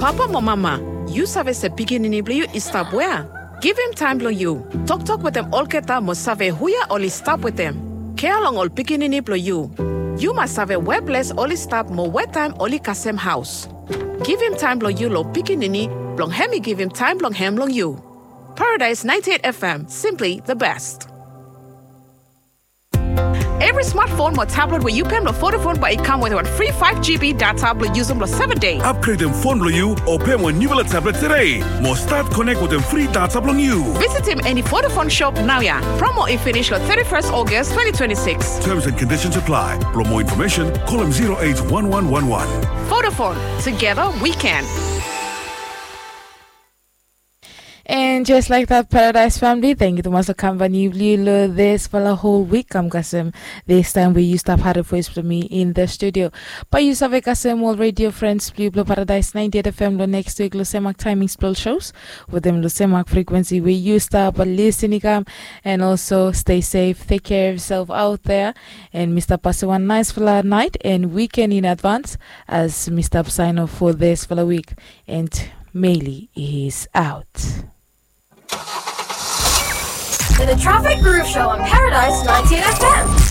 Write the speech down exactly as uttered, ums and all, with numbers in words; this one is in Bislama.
Papa mo mama, yu save se pikinini blong yu i stap wea? Givim taem blong yu. Toktok wetem olgeta mo save huia oli stap wetem. Kea long ol pikinini blong yu. Yu mas save we ples oli stap mo we taem oli kasem haos. Givim taem blong yu long pikinini blong hem i givim taem blong hem long yu. Paradise ninety-eight F M, simply the best. Evri smartphone mo tablet we yu pem long Vodafone bae i kam wetem wan fri five G B data blong yusum long seven day. Upgradem fon blong yu o pem wan niufala tablet tede mo stat konek wetem fri data blong yu. Visitim eni Vodafone shop naoia. Promo i finish long thirty-first August twenty twenty-six. Terms and conditions apply. Blong moa infomesen, kolem zero eight one one one one. Vodafone, together we can. And just like that, Paradise family, thank you tumas long kampani blong yu long disfala hol wik. Kam kasem, this time we yu stap harim voes blong mi in the studio. Bae yu save kasem ol radio friends blong yu blong Paradise ninety-eight F M long next week long semak timings blong ol shows wetem long semak frequency we yu stap lisin i kam. And also stay safe, take care of yourself out there. And mi stap pasem wan naesfala naet and weekend in advance as mi stap sign off for disfala wik. And Meili is out. The Traffic Groove Show on Paradise ninety-eight F M.